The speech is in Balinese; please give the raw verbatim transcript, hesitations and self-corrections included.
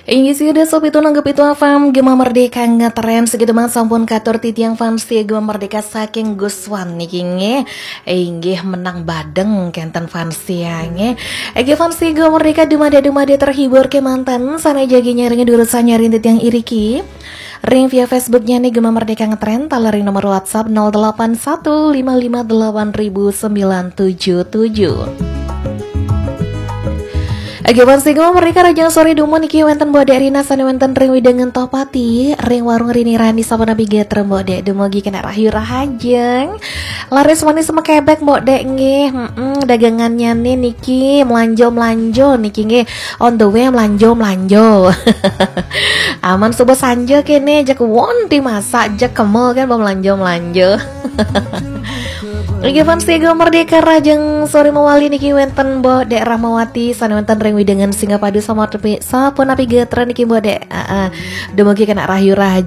Inggih, sida sopi tunanggep itu afam Gema Merdeka ngetren segitu banget, sampun katur titiang fans setia Gema Merdeka saking Guswan niki nggih. Inggih, menang badeng kenten fans setia nggih. Inggih, fans setia Gema Merdeka, dumadi-dumadi terhibur kemanten, sana jagi nyaringi durut sanyari titiang iriki. Ring via Facebooknya nih Gema Merdeka ngetren, taler ring nomor WhatsApp nol delapan satu lima lima delapan ribu sembilan tujuh tujuh. Oke, fans Gema Merdeka, rahajeng sore dumun niki wenten Mbok Dek Rina sane wenten ring wewidangan Tohpati, ring warung Rini Rani sapunapi gatra Mbok Dek, dumugi kena rahayu rahajeng. Laris manis mekebek Mbok Dek nggih. Mm-mm, dagangannya nih niki melanjo-melanjo niki nggih. On the way melanjo-melanjo. Aman subuh sanja kene, jek wonten masak, jek kemul kan, melanjo-melanjo. Inggih, fans Gema Merdeka, rahajeng sore mawali niki wenten Mbok Dek Rahmawati sane wenten ring wewidangan Singapadu sapunapi, sapunapi gatra niki Mbok Dek. Heeh. Dumugi kena rahayu rahajeng.